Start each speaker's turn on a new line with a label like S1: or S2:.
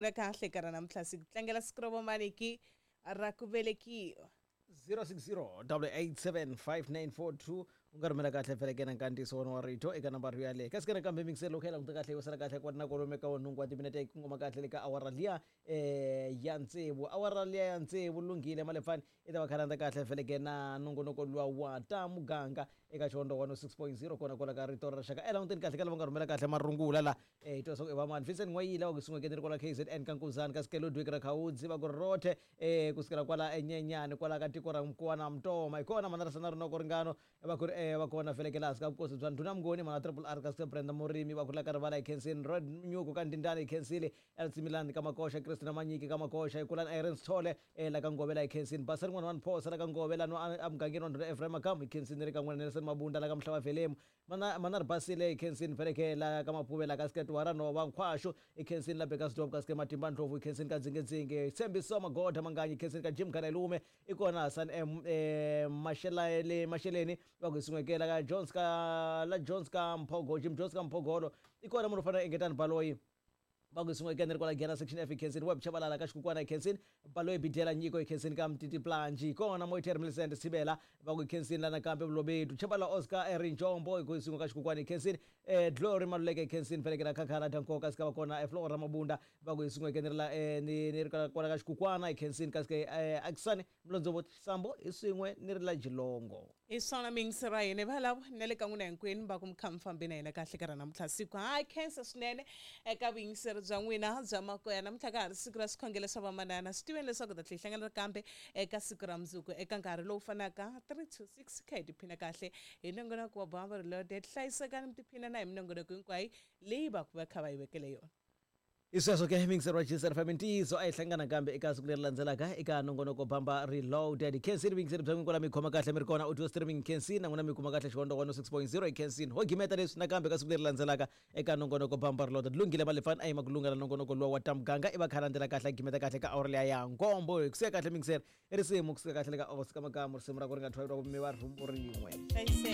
S1: Na kahle ka ra namuntlha siku tlangela siku ra vomaniki ra ku velekiwa.
S2: 060 887 5942 u nga rhumela kahle feleke na nkandziyiso wona wa rito eka nambara yaleyo. Kasi ke nakambe mingiselo loko ya languta kahle yo sala kahle kwani na kwalomu ka nhungu wa timinete ku ngoma kahle le ka awara liya ya tsevu, awara liya ya tsevu lunghile Malefani i ta va khalanda kahle feleke na nongonoko luwa wa ta muganga eka Xihondzo 106.0 kona kwala ka Rito ra Rixaka. E languteni kahle ka lava nga rhumela kahle marungula la hi twa swa ku i vamani. Vincent N'wayila wa ku sun'weke ni ri kwala KZN ka Nkuzani, kasi ke Ludwig Rakhaudzi va ku rothe kusukela kwala eNyenyani kwala ka tiko ra Mkuwana Mtoma. Hi kona mana Rasana Rinoko Ringano va ku ri va kona feleke laha hansi ka vukosi bya Ndhuna Mnguni, mana Triple R, kasi ke Brenda Murimi va ku la ka Rivala hi khensini, Red Nyuku ka Ndindani hi khensile, Elsimilani ka Makoxa, Christina Manyiki ka Makoxa, hi kulani Irene Sithole la ka Ngove la hi khensini, Basa rin'wana wa Mphosa la ka Ngove la nwa emugangeni wa Ndhuna Ephraim Makamu hi khensini, ri ka n'wina Nelson Mabunda la ka Mhlava Velemu, mana mana Ribasile hi khensini feleke la ka Mapuve la ka Siketwara Nhova Nkhwaxu hi khensini la Bekasdorp, kasi ke Matimba Ndlovu hi khensini ka Dzingedzinge, Tshembiso Magoda Manganyi hi khensini ka Jim Khalayilume, i kona Hassan M Mashelele Masheleni va ku hi sun'weke la ka Jones ka la Jones ka Mphogo, Jim Jones ka Mphogolo, i kona munhu u fanele Engetani Baloyi va ku hi sun'weke ni ri kwala Giyani section F hi khensini, Web Chabalala ka Xikukwana hi khensini, Baloyi Bidela Nyiko hi khensini ka Mtiti Planji, hi kona Moiter Millicent Sibela va ku hi khensini la nakambe Vulobedu Chabalala Oscar Rinjombo hi ku hi sun'we ka Xikukwana hi khensini, Glory Maluleke hi khensini feleke la Khakhala Dankoka sika va kona Flora Mabunda va ku hi sun'weke ni ri la ni ri kwala ka Xikukwana hi khensini, kasi ke Akisani Mlondzovo Sambo hi swin'we ni ri la Jilongo.
S1: Hi swona miyingiseri wa hina valavo na le ka n'wina hinkwenu va ku mi kha mi fambe na hina kahle ka ra namuntlha siku. Ha khensa swinene eka vuyingiseri bya n'wina bya makoya. Namuntlha ka ha ri siku ra swikhongelo swa vamanana. Swi tiveni leswaku hi ta tlhela hi hlangana kambe eka siku ra mundzuku eka nkarhi lowu fanaka 3 to 6 kha hi tiphina kahle hi nongonoko wa Bamba Reloaded. Hlayisekani mi tiphina na hi minongonoko hinkwayo leyi va ku va kha va yi vekele yona.
S2: Hi sweswo ke miyingiseri wa GCR FM ntiyiso a hi hlangana kambe eka siku leri landzelaka eka nongonoko Bamba Reloaded. Khensini vuyingiseri bya n'wina kwala mi khoma kahle mi ri kona audio streaming khensini na n'wina mi kuma kahle Xihondzo 106.0 hi khensini. Ho gimeta leswi nakambe ka siku leri landzelaka eka nongonoko Bamba Reloaded. Lunghile Malefani a yima ku lunga na nongonoko luwa wa ta muganga i va kha landzela kahle a gimeta kahle ka awara liya ya nkombo. Hi ku siya kahle miyingiseri i risimu ku suka kahle le ka Oscar Makamu risimu ra ku ri nga thwayeriwa ku mi va rhumbu rin'we.